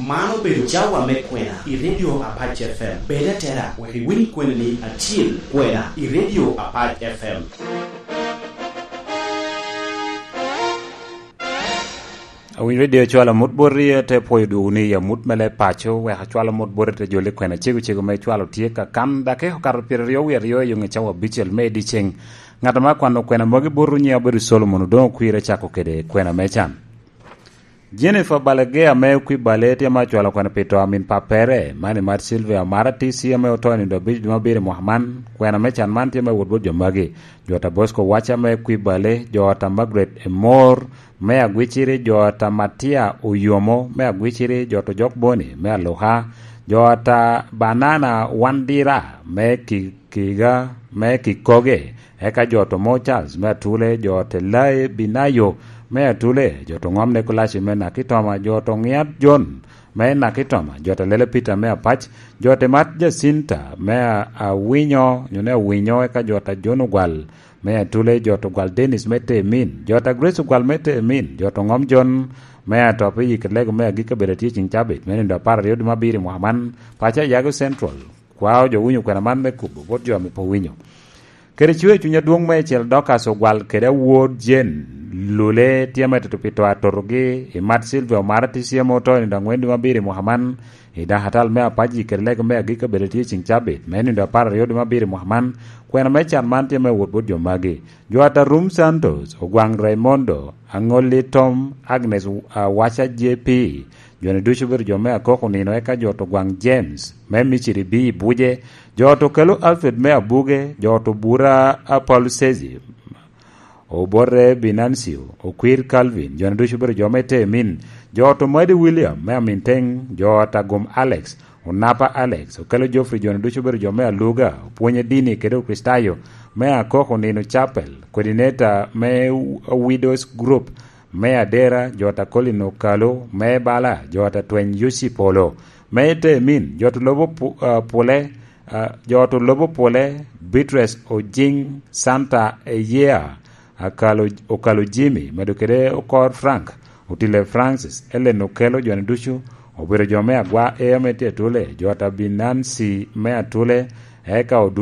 Man obedo cawa me kwena i Radio Apac FM. Bed atera wek iwiny kwenani acel kwena i Radio Apac FM. Awiny radio cwalo amut boti te pwoyo dwogo ni i amut me leb paco wek acwal amut boti te joli kwena cego cego ma icwalo tye ka kan dake okato pyeraryo wiye aryo i yo nge cawa abicel me dyeceng. Ngat ma kwano kwena magi boti nyinge obedo Solomon Odongo Kwir ecako kede kwena me can. Jennifer Balegeya me Kwibale tye ma ocwalo kwena pi to min pa pere, man i mat Sylvia Omara TC ame oto i nindo abic dwe mabiro i mwaka man. Kwena me can man tye me wot bot jo magi, Jota Bosco Waca me Kwibale, Jota Margaret Emor me Agwiciri, Jota Matia Oyomo me Agwiciri, Jota Ojok Boni me Aluka, Jota Banana Wandira me Kiga me Kikoge, Eka jo to mo Charles me Atule, jo te Lai Binayo me Atule, jo to Ngom Nekolaci me Nakitoma, jo to Ngiat John me Nakitoma, jo te Lele Peter me Apac, jo te Mat Jacinta me Awinyo nyo ne Awinyo, eka jo ta John Ogwal me Atule, jo to Ogwal Dennis me Temin, jo ta Grace Ogwal me Temin, jo to Ngom John me Atop i Yik Lego me Agik kabedo tye ceng cabit me nindo 12 dwe mabiro i mwaka man, paco Ayago Central. Kwao jo winyo kwena man me kubo bot jo me pe winyo. Kede cwer cwiny adwong me ecel Dorcas ogwal kede awod Jane lule tye me tito pi to atotogi i mat Sylvia Omara TCM oto i nindo angwen dwe mabiro i mwaka man i dakatal me Apaji kede lego me agik kabedo tye ceng cabit me nindo 12 dwe mabiro i mwaka man. Kwena me can man tye me wot bot jo magi Jo Atarum Santos, Ogwang Raimondo, Angoli Tom, Agnes Waca JP, Joni ducu obedo jo me Akoko nino eka jo to Gwang James me Miciri B Buje, jo to Kelo Alfred me Abuge, jo to Bura Paul Sezi, Obote Binancio, Okwir Calvin, joni ducu obedo jo me Temin, jo to Madi William me Aminteng, jo ta Gum Alex, Onapa Alex, Okello Geoffrey joni ducu obedo jo me Aluga, Opwonye Dini kede Okricitayo me Akoko Nino Chapel, Coordinator me Widows Group, Me Adera, Jota Colin Okalo, Me Bala, Jota Tweny Yoci Polo, Me Temin, Jota Lobo Pule, Jota Lobo Pule, Beatrice Ojing, Santa Eyea, Akalo, Okalo Jimmy, medo kede Okor Frank, Otile Francis, Ellen Okello, joni ducu obedo jo me Agwa Ea me tye Atule, Jota Binansi me Atule, eka Odu.